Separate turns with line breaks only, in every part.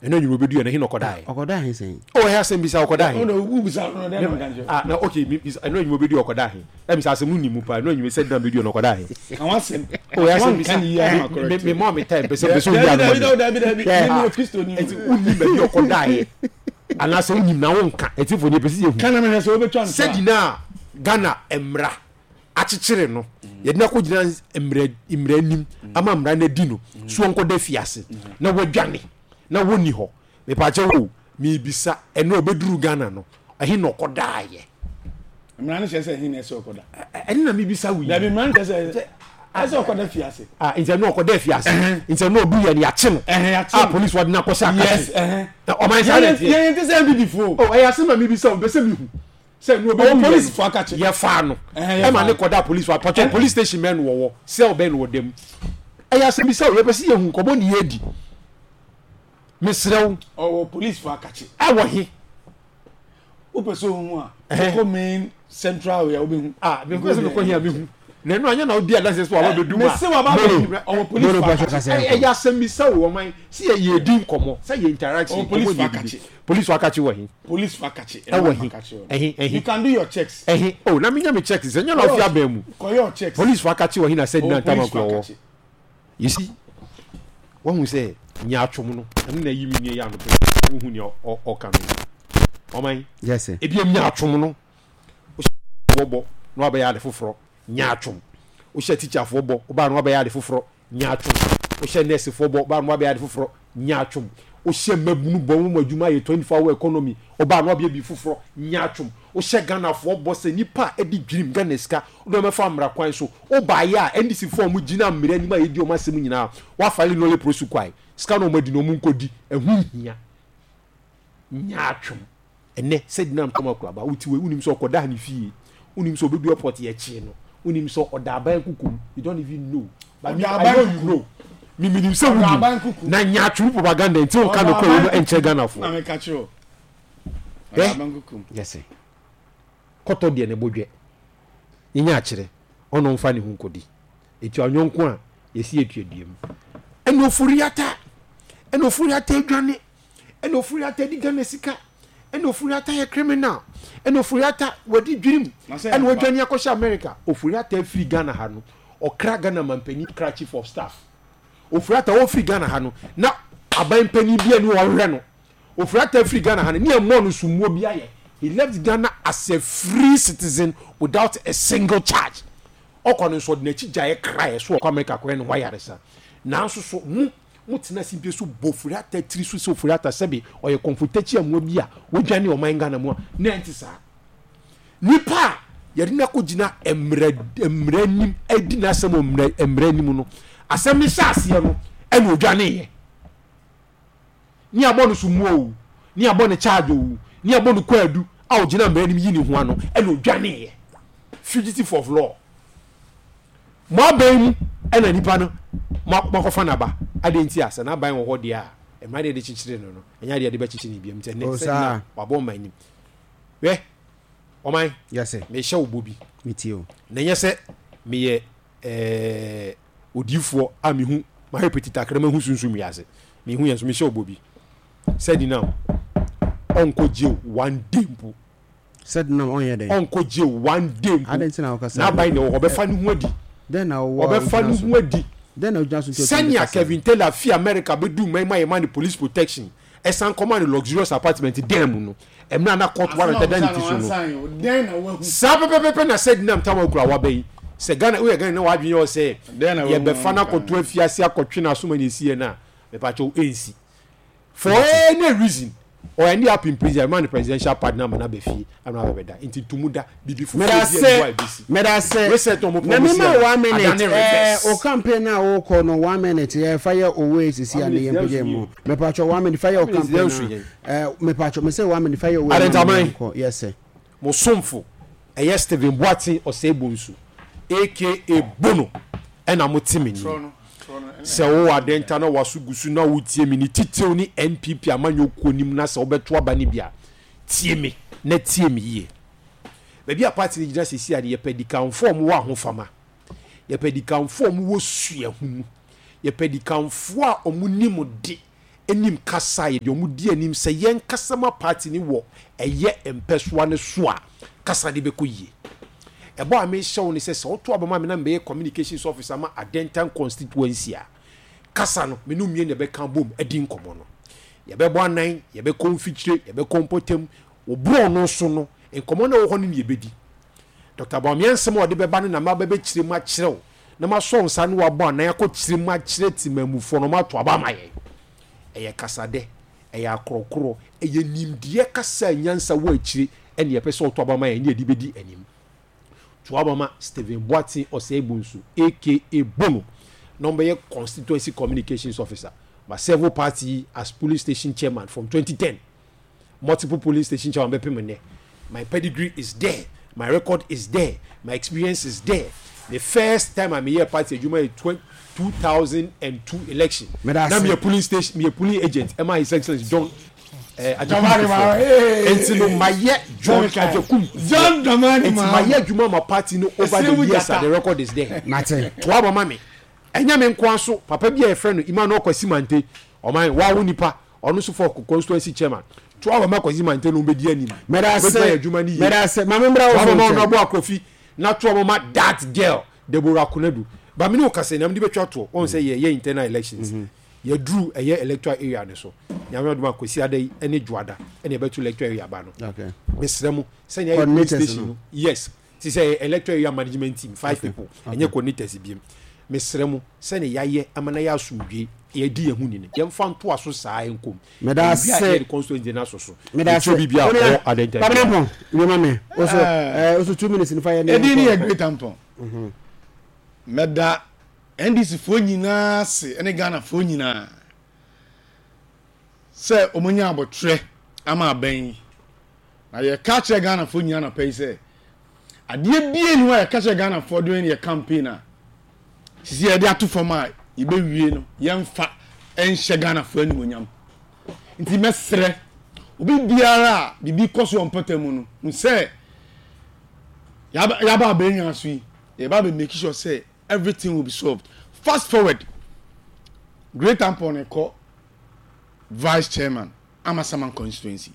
Ɛno anwummerɛ ɔbɛduiɛ no, ɛhe na ɔkɔdaeɛ?
Ɔkɔdaa he sɛn?
Oh, ɛyɛ asɛm bisa, ɔkɔdaa he?
Ɔno wobisa no, dɛn na meka nkyerɛ?
Ah, na okay, me bisa, ɛno anwummerɛ ɔbɛduiɛ ɔkɔdaa he? Ɛmi sɛ asɛm no nim mu paa, ɛno anwummerɛ sɛ dina bɛduiɛ no ɔkɔdaa he?
Ka w'asɛm.
Oh, ɛyɛ asɛm bisa,
Wanka ne yie ama correct.
me me me time, pɛ sɛ pɛ sɛ oyi ano ma me.
Dabi dabi dabi,
Hwɛ,
me meyɛ Kristoni o.
Nti wonnim baabi a ɔkɔdaeɛ, anaasɛ wonim na wonka, atiefo deɛ pɛ sɛ yɛhu.
Ka na mehwɛ sɛ wobɛtwa ntorɔ a.
Sɛ dina a Ghana mmara akyekyere no, yɛde no akɔgyina mmara mmara anim ama mmara no adi no so ɔnkɔda afiase na wadwane na wɔnni hɔ. Mepaakyɛw o, mebisa, ɛno a ɔbɛduru Ghana no, ɛhe na ɔkɔdaeɛ?
Mmara no kyerɛ sɛ ɛhe na ɛsɛ ɔkɔda?
Ɛne na mebisa wo yi.
Dabi, mmara no kyerɛ sɛ ɛsɛ ɔkɔda fiase.
Ah, nti ɛno ɔkɔda afiase. Nti ɛno ɔdu yɛ no yɛakye no.
Yɛakye
no. A polisi wɔde no akɔhyɛ akakye.
Yes, ɛhɛn.
Ɔman saa na ɛteɛ.
Yɛn ti sɛ NPP foɔ.
Oh, ɛyɛ asɛm na mebisa o, mepɛ sɛ mehu. Sɛ no
ɔbɛwu yɛ
no, yɛfaa no ɛma ne kɔda police wa pɔtɔ police station bɛn no wɔwɔ, cell bɛn no wɔda mu. Ɛyɛ asɛm bisa o, yɛpɛ sɛ yɛhu nkɔmɔ ne yɛdi. Mesrɛ wo.
Ɔwɔ police fo akakye.
Ɛwɔ he?
Wopɛ sɛ ohu a, wokɔ main central wei a wobɛhu.
Ah, mekɔ sɛ mekɔ he a mehu. Na ɛno anyɛ na wodi adanseɛ sɛ waba bɛdu mu a.
Mese waba bɛdu, ɔwɔ police fo akakye.
Ɛyɛ asɛm bisa o, ɔman, sɛ yɛdi nkɔmɔ, sɛ yɛ interaction,
nkɔmɔ ne yɛdidi.
Police fo akakye wɔ he?
Police fo akakye.
Ɛwɔ he? Ɛhe? Ɛhe?
You can do your checks.
Ɛhe? Oh, na menya me checks sɛ nyɛ na ɔfi abɛn mu.
Kɔ your checks.
Police fo akakye wɔ he na sɛ dina ntam akura wɔ. You see, wahu sɛ nyaatwom no, ɛno na ayi me nua yi ano pɛ, wohu nea ɔka no. Ɔman,
Yes sir.
ebi nyaatwom no, wohyɛ bɔ na wabɛyɛ ade foforɔ, nyaatwom. Wohyɛ tikyafoɔ bɔ, wobaa na wabɛyɛ ade foforɔ, Nyaatwom. Wohyɛ nɛɛsefoɔ bɔ, ɔbaa no wabɛyɛ ade foforɔ. Nyaatwom. Wohyɛ mmabunu bɔ, wɔn adwuma ayɛ 24 hour economy, ɔbaa no wabɛyɛ biribi foforɔ. Nyaatwom. Wohyɛ Ghanafoɔ bɔ sɛ nnipa a ɛdi dwirim Ghana sika, wode wɔn bɛfa mmara kwan so. Wobaeɛ a, NDC foɔ a wɔgyina mmara anim a yɛdi wɔn asɛm nyinaa, woafile nolle prosequi. Sika no a wɔadi no, wɔnkɔdi. Ɛho nhia. Nyaatwom. Ɛnnɛ, sɛ Dinam Tɔm Akuraba, wote wei, wonim sɛ ɔkɔdaa ne fie, wonim sɛ ɔbɛdu airport yɛkyee no, wonim sɛ ɔda aban kuku mu, you don't even know. But me, I know you know. Me menim sɛ wonim. Na nyaatwom propaganda nti wonka nokorɛ wɔ mu nkyerɛ Ghanafoɔ.
Na meka kyerɛ wo.
Eh?
Yes sir.
Kɔtɔ deɛ ne bo dwɛ. Yɛnya akyerɛ, ɔno mfa ne ho nkɔdi. Etua yɔnko a, yɛsi etua dua mu. Ɛna Ofori-Atta, ɛna Ofori-Atta adwane. Ɛna Ofori Atta di Ghana sika. Ɛna Ofori Atta yɛ criminal. Ɛna Ofori Atta wadi dwirim. Ɛna wadwane akɔhyɛ America. Ofori Atta afiri Ghana ha no, ɔkra Ghana manpanin kra chief of staff. Ofori Atta ɔfiri Ghana ha no, na aban panin bi ani ɔhwehwɛ no. Ofori Atta afiri Ghana ha no, ne ɛmmɔɔ no summuo bi ayɛ. He left Ghana as a free citizen without a single charge. Ɔkɔ no nso ɔde n'akyi gyaeɛ kraeɛ so ɔkɔ America kɔyɛ ne ho ayaresa. Nanso so mo Motena simpie so bɔ Ofori-Atta tiri so sɛ Ofori-Atta sɛbe ɔyɛ kɔmfotakyi amoa bi a wadwane ɔman Ghana mu a, na ɛnte saa. Nipa a yɛde no akɔgyina mmara mmara anim adi n'asɛm wɔ mmara mmara anim no, asɛm no hyɛ aseɛ no ɛna odwaneeɛ. Ne abɔ no somuo o, ne abɔ no charge o, ne abɔ no kwaadu a ɔgyina mmara anim yi ne ho ano ɛna odwaneeɛ. Fugitive of law. Mo aban mu na nipa no moakɔfa no aba. Adɛn nti a? Sɛ n'aban wɔ hɔ deɛ a, mmara deɛ yɛde kyekyere no no, ɛnyɛ adeɛ a yɛde bɛkyekyere no bio. Nti ɛnnɛ,
Oh,
sɛ
saa.
na wabɔ ɔman anim. Hwɛ, ɔman,
Yes, sir.
mehyɛ wo bɔ bi.
Metie o.
Na ɛnyɛ sɛ meyɛ ɛɛ odiyifoɔ a mehu, mahwɛ petita kakra mahu sunsum wiase. Mehu yɛn nso, mehyɛ wo bɔ bi. Sɛ Dinam, ɔnkɔ jail one day mpo.
Sɛ denam ɔnyɛ dɛn?
Ɔnkɔ jail one day mpo.
Adɛn nti na wokasa?
N'aban na ɛwɔ hɔ. Ɔbɛfa ne ho adi.
Dɛn na wowɔ a
Ɔbɛfa
wogyina
ne
so?
ho adi.
Dɛn na wogyina so nti a wotumi de
Sɛnea
kasa?
Kevin Taylor fi America beduu man mu a yɛmaa no police protection, ɛsan kɔmaa no luxurious apartment dan mu no, mmerɛ a na court
Asɛm a
warrant da
wobisa
ne
no
ti so no,
wansan o. Dɛn na woahu?
saa pɛpɛpɛpɛ na Sedinam Tamaklo a waba yi, sɛ Ghana, woyɛ Ghanani na w'adwene yɛ wo sɛ
Dɛn na woahu
yɛbɛfa
a
no
wonka
akɔto
ho?
afiase akɔtwe n'aso ma no asi yɛn a, mepakyɛw, ɛnsi. For any reason or any up in prison ɛma no presidential pardon ama no aba fie ama no abɛda nti ntomu da biribi foforɔ bi ɛni hɔ a ɛbɛsi
Medase
reset na ɔmo
na
promise
mema
yɛ no
one minute
adane
eh,
reverse.
o campaign na wokɔ no one minute yɛ fa yɛ owe sisi a
One
ne
minute
yɛn
yɛn
pagya
nso
mu
yie.
mepatwɔ one minute fa yɛ o
One minute
campaign
yɛn nso
na
yɛn.
eh, mepatwɔ me sɛ one minute fa yɛ owe ma me
Adentaman.
yɛn kɔ yes sir.
Mo somfo ɛyɛ Stephen Boateng Osei Bonsu aka Bono ɛna mo te me nne. Sɛ wowɔ Adenta na w'aso gu so na wotie me ne titiriw ne NPP amanyɔ kuo no mu na sɛ wobɛto aba no bi a, tie me na tie me yie. Baabi a party no gyina seesei a no yɛpɛ adikanfoɔ a wɔwɔ ahofama, yɛpɛ adikanfoɔ a wɔwɔ suahunu, yɛpɛ adikanfoɔ a wɔnim de. nim kasa a yɛde wɔn di anim sɛ yɛn kasa ma party no wɔ ɛyɛ mpɛsoa no so a, kasa no bɛkɔ yie. Ɛbɔ a mehyɛ wo ne sɛ, sɛ woto aba ma me na mebɛyɛ communications officer ma Adentan constituency a, kasa no, me ne wo mmienu na ɛbɛka abom adi nkɔmmɔ no. Yɛbɛbɔ anan, yɛbɛkɔ mfikyire, yɛbɛkɔ mpɔtam. Wo borɔno so no, nkɔmmɔ no a ɛwɔ hɔ no na yɛbɛdi. Dɔkta Bawumia nsɛm a ɔde bɛba no na maba bɛkyerɛ mu akyerɛ wo na masɔ wo nsa ne wabɔ anan akɔkyerɛ mu akyerɛ temanmufoɔ no wɔato aba ama yɛn. Ɛyɛ kasadɛ, ɛyɛ akorɔkorɔ, ɛyɛ nimdeɛ kasa a nyansa wɔ akyire ɛne yɛpɛ sɛ wɔto aba ma yɛn ne yɛde bɛdi anim. To aba ma Stephen Boateng Osei Bonsu aka Bono na ɔmbɛyɛ Constituency Communications Officer ma serve party yi as Polling Station Chairman from 2010. Multiple polling station chairman bɛpem nnɛ. My pedigree is there, my record is there, my experience is there. The first time a meyɛɛ party adwuma yɛ 2002 election. Na meyɛ polling station, meyɛ polling agent ɛma His Excellency John eh, Agyekum Kufuor. Nti no mayɛ John Agyekum Kufuor. Nti mayɛ adwuma ma party no over the years a the record is there. Toa ba ma me. Ɛnyɛ me nkoa so, papa bi a yɛfrɛ no Emmanuel Kwasi Mante, ɔman, wawo nipa, Ɔno nso fɔ constituency chairman. To aba ma Kwasi Manteh na ɔmbɛdi anim.
Mɛda ase.
Ɔbɛtumi ayɛ adwuma no yie.
Mɛda ase. Maame mbra wo
To aba ma
so nkyɛn.
Honourable Akrofi na to aba ma that girl Deborah Konadu. Ba me ne wo kasa yi na mede bɛtwa toɔ. Wɔn sɛ yɛyɛ internal elections. Yɛduru ɛyɛ electoral area no so. Nyame adom a Kwasiada yi ne Dwoada ɛna yɛbɛto electoral area ba no.
Okay.
Mesrɛ mo sɛnea yɛ police
Coordinators
station
no.
no. Yes. Te sɛ ɛyɛ electoral area management team five people ɛnyɛ coordinators biem. Mesrɛ mo sɛnea yɛayɛ ama no ayɛ asomdwoe yɛadi yɛn ho ni no yɛmfa ntoa so saa nkɔ mu.
Meda
Yɛwie a
ase.
yɛde constituency no asɔ so.
Meda ase.
Yɛkyerɛ obi biara a
Onua,
ɔwɔ Adenta
Kwabena
biara.
Ampong, wie ma me. Oso, eh, oso 2 minutes nifa yɛ ne
Edin no
yɛnkɔ.
yɛ Great Ampong. Mɛda NDC foɔ nyinaa ase ne Ghana foɔ nyinaa sɛ wɔn anya abotrɛ ama abɛn yi. Na yɛka kyerɛ Ghana foɔ nyinaa anɔpa yi sɛ adeɛ bie ni hɔ a yɛka kyerɛ Ghana foɔ during yɛ campaign a sisi yɛde ato fam a yɛbɛwie no yɛmfa nhyɛ Ghana foɔ animuonyam. Nti mɛsrɛ obi biara a biribi kɔ so wɔ mpɔtam mu no hu sɛ yɛaba yɛaba abɛnwa so yi yɛba abɛ make sure sɛ everything will be solved. Fast forward, Great Ampon kɔ vice chairman Amasaman constituency.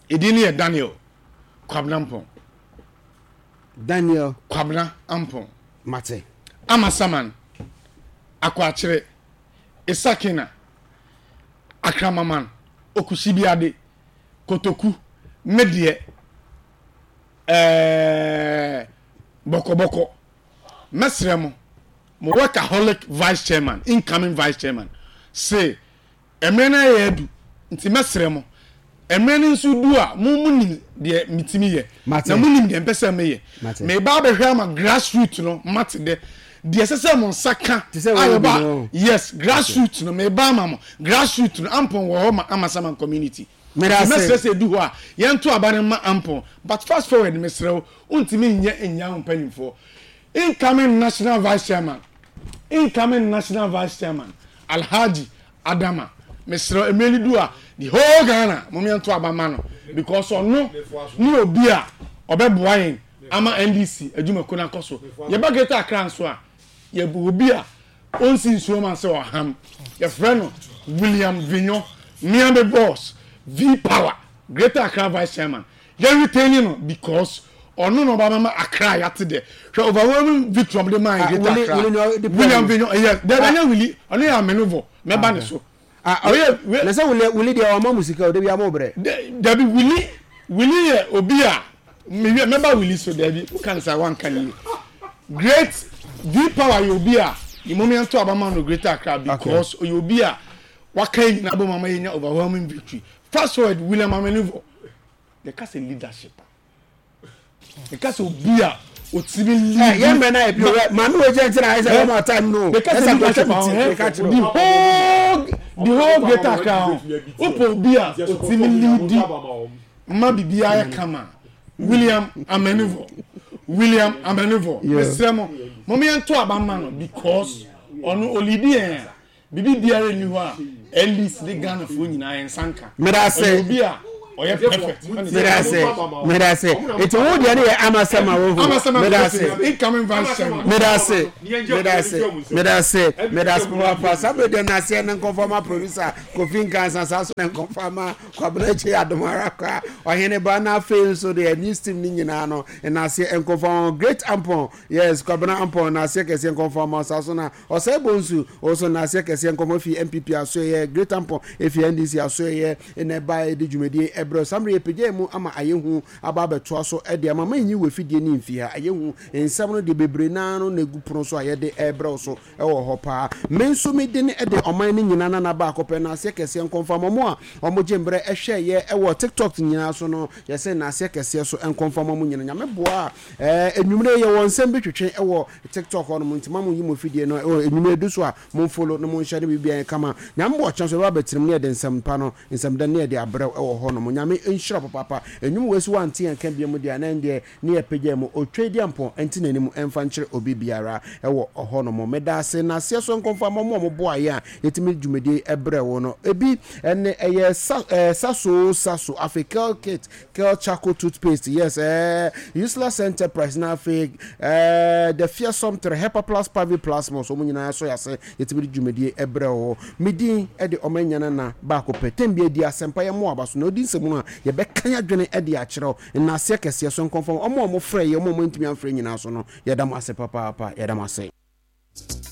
Edin no yɛ Daniel Kwabena Ampon.
Daniel
Kwabena Ampon.
Mate.
Amasaman, Akwakyere, Isakina, Akramaman, Okusibiade, Kotoku, Medeɛ, ɛɛɛ Bɔkɔbɔkɔ. Mɛsrɛ mo, mo workaholic vice chairman, incoming vice chairman, se mmerɛ no ayɛ adu, nti mɛsrɛ mo, mmerɛ no nso du a, mo mo nim deɛ metumi yɛ,
Mate.
na mo nim deɛ mpɛ sɛ meyɛ.
Mate.
Meba abɛhwɛ ama grassroot no mate dɛ, deɛ ɛsɛ sɛ mo nsa ka
Te sɛ
a
wɔn bi
yɛba,
no.
yes, grassroot no, meba ama mo, grassroot no, Ampon wɔ hɔ ma Amasaman community.
Meda
Nti
ase.
mɛsrɛ sɛ ɛdu hɔ a, yɛnto aba no mma Ampon. But fast forward, mesrɛ wo, wontumi nyɛ nnya wo mpanyimfoɔ. Incoming national vice chairman, incoming national vice chairman, Alhaji Adama, mesrɛ wo, mmerɛ no du a, the whole Ghana, mom yɛnto aba mma no because ɔno ne obi a ɔbɛboa yɛn ama NDC adwumakuo no akɔ so. Yɛba Greater Accra nso a, yɛwɔ obi a ɔnsi nsuo ma sɛ ɔham, yɛfrɛ no William Vinyo, Miami boss, V Power, Greater Accra vice chairman. Yɛ retain no because ɔno na ɔba bɛma Accra yɛate dɛ. Hwɛ overwhelming victory ɔmo de maa
Ah,
Greater
Willie,
Accra.
Willie na ɔde
William
pɔn.
Vinyo, yes, dɛbi ɛnyɛ Willie, ɔno yɛ Amenuvor, mɛba ne so.
Ah,
Ɔyɛ, we,
na sɛ Willie, Willie deɛ ɔma mu sika o, dabi ama wo brɛ.
Dabi Willie, Willie yɛ obi a mewie mɛba Willie so dabi woka no saa wanka no yie. Great V Power yɛ obi a mmom yɛnto aba ma no Greater Accra because ɔyɛ obi a waka yɛn nyinaa bom ama yɛnya overwhelming victory. Fast forward William Amenuvor, yɛka sɛ leadership a, yɛka sɛ obi a otimi lead.
Ɛ yɛn mmerɛ na yɛ bi o maame wo gyɛn ti na ayɛ sɛ wɔn ata no.
Yɛka sɛ leadership a ɔhɛ the whole Greater Accra ho wopɛ obi a otimi lead ma biribiara yɛ kama William Amenuvor, William Amenuvor, mesrɛ mo mo yɛn to aba ma no because ɔno olidi yɛn a biribi biara nni hɔ a at least ne Ghanafoɔ nyinaa yɛn nsa nka.
Meda ase.
Ɔyɛ obi a. Ɔyɛ perfect.
Medase, medase. Eti wo deɛ no yɛ amasɛm a wohu. Medase.
Incoming vice chairman.
Medase, medase, medase, medase papaapa. Saa bere deɛ naseɛ ne nkɔmfɔ ma producer Kofi Nkansa saa so ne nkɔmfɔ ama Kwabena Kyei Adomara kwa ɔhene ba na afei nso deɛ news team ne nyinaa no naseɛ nkɔmfɔ ma Great Ampon yes Kwabena Ampon naseɛ kɛseɛ nkɔmfɔ ma saa so na Ɔsɛe Bonsu, ɔso nnaseɛ kɛseɛ nkɔmɔ fi NPP asoɛeɛ, Great Ampon efi NDC asoɛeɛ na ɛbaeɛ de dwumadie yi ɛbrɛ wo. Saa mmerɛ yi yɛpagyaa mu ama ayɛ hu aba abɛtoa so de ama. Ma nyi w'afidie no mfi ha. Ayɛ hu nsɛm no deɛ bebree no ara no na ɛgu pono so a yɛde rebrɛ wo so wɔ hɔ paa. Me nso me dene de ɔman no nyinaa nana baako pɛ, nnaseɛ kɛseɛ nkɔmfa ma mo a wɔgye mmerɛ hwɛeɛ wɔ TikTok nyinaa so no, yɛse nnaseɛ kɛseɛ so nkɔmfa ma mo nyinaa. Nyame boa a, ɛɛ anwummerɛ yi yɛwɔ nsɛm bi twetwe wɔ TikTok hɔ nom nti ma mo nyi mo fidie no ɛwɔ enyimire du so a mo nfolo na mo nhyɛ ne biribiara yɛ kama. Nyame bɔ ɔkyena so yɛbɛba abɛtena mu ne yɛde nsɛm pa no nsɛm dɛ ne yɛde abrɛ wo ɛwɔ hɔ nom. Nyame nhyira wo papaapa. Enyim wei so wante yɛn nka biom deɛ a na ɛndeɛ ne yɛ pagya mu Otwadiampɔn nte n'anim ɛmfa nkyerɛ obi biara ɛwɔ hɔ nom. Medaase naseɛ so nkɔmfo ama ɔmo a ɔmo boa yɛn a yɛtumi de dwumadie yi ɛbrɛ wo no. Ebi ɛne ɛyɛ sa ɛɛ saso saso afei kel kit Kel charcoal toothpaste yes eh Useless enterprise na afei eh the fearsome tre Hepa plus Pavi plasmos wɔn nyinaa sɔ yase yɛtumi de dwumadie ɛbrɛ wo. Me din de ɔma nya nana baako pɛ tɛm bi adi asɛmpa yɛ mmoa aba so na odi nsɛm no a yɛbɛka yɛadwene de akyerɛ wo nnaseɛ kɛseɛ so nkɔmfam wɔn a wɔfrɛ yɛ wɔn a wɔantumi amfrɛ nyinaa so no yɛda mo ase papaapa yɛda mo ase.